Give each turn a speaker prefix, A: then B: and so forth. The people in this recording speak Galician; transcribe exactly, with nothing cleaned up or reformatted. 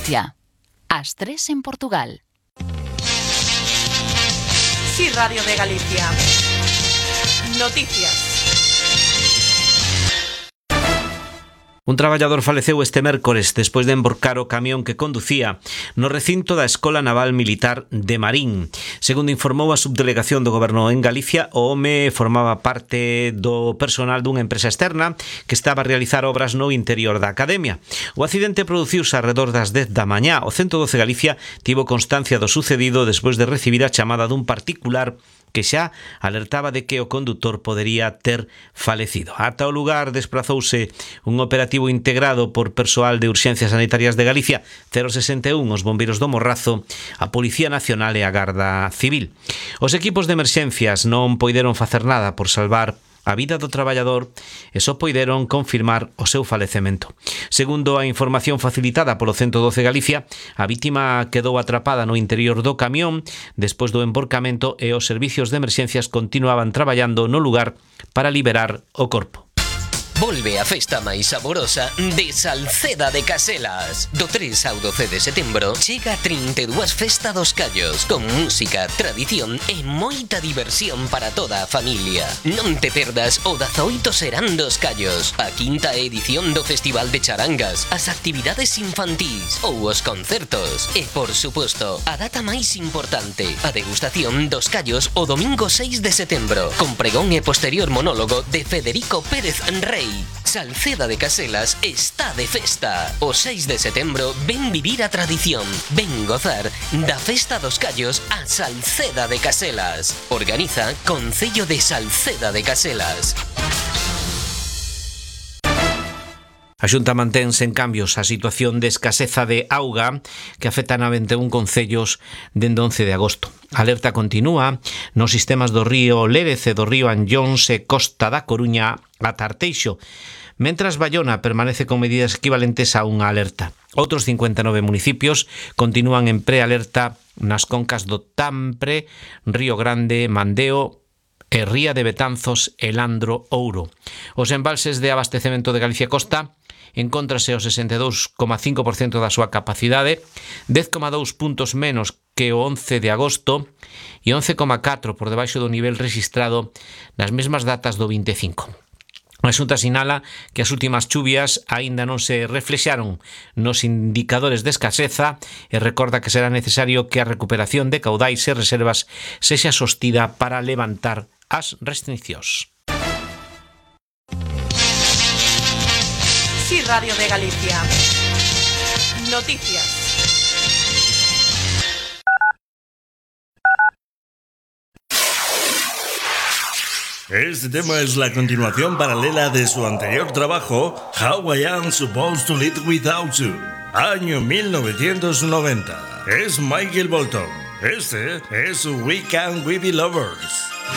A: Galicia. As tres en Portugal.
B: Sí, Radio de Galicia. Noticias.
C: Un traballador faleceu este mércores despois de emborcar o camión que conducía no recinto da Escola Naval Militar de Marín. Segundo informou a subdelegación do Goberno en Galicia, o home formaba parte do personal dunha empresa externa que estaba a realizar obras no interior da academia. O accidente produciuse arredor das dez da mañá. O ciento doce Galicia tivo constancia do sucedido despois de recibir a chamada dun particular que xa alertaba de que o condutor podería ter falecido. Ata o lugar desprazouse un operativo integrado por persoal de Urxencias Sanitarias de Galicia, cero sesenta e un, os bombeiros do Morrazo, a Policía Nacional e a Garda Civil. Os equipos de emerxencias non poideron facer nada por salvar a vida do traballador e só poideron confirmar o seu falecemento. Segundo a información facilitada polo ciento doce Galicia, a vítima quedou atrapada no interior do camión despois do emborcamento e os servicios de emerxencias continuaban traballando no lugar para liberar o corpo.
D: Volve a festa máis saborosa de Salceda de Caselas. Do tres ao doce de setembro chega a trinta e dúas Festa dos Callos, con música, tradición e moita diversión para toda a familia. Non te perdas o dezaoito Serán dos Callos, a quinta edición do Festival de Charangas, as actividades infantís ou os concertos. E, por suposto, a data máis importante, a degustación dos callos o domingo seis de setembro, con pregón e posterior monólogo de Federico Pérez Rey. Salceda de Caselas está de festa. O seis de setembro ven vivir a tradición, ven gozar da Festa dos Callos a Salceda de Caselas. Organiza Concello de Salceda de Caselas.
C: A Xunta mantén sen cambios a situación de escaseza de auga que afecta a vinte e un concellos dende once de agosto. A alerta continúa nos sistemas do río Lérez e do río Anllóns e Costa da Coruña a Tarteixo, mentras Baiona permanece con medidas equivalentes a unha alerta. Outros cincuenta e nove municipios continúan en prealerta nas concas do Tampre, Río Grande, Mandeo e Ría de Betanzos e Landro Ouro. Os embalses de abastecemento de Galicia Costa encóntrase ao sesenta e dous coma cinco por cento da súa capacidade, dez coma dous puntos menos que o once de agosto e once coma catro por debaixo do nivel registrado nas mesmas datas do vinte e cinco. A Xunta sinala que as últimas chuvias aínda non se reflexaron nos indicadores de escaseza e recorda que será necesario que a recuperación de caudais e reservas sexa sostida para levantar as restriccións.
B: Sí, Radio de Galicia. Noticias.
E: Este tema es la continuación paralela de su anterior trabajo, How I Am Supposed to Live Without You, año mil novecientos noventa. Es Michael Bolton. Este es su We Can We Be Lovers.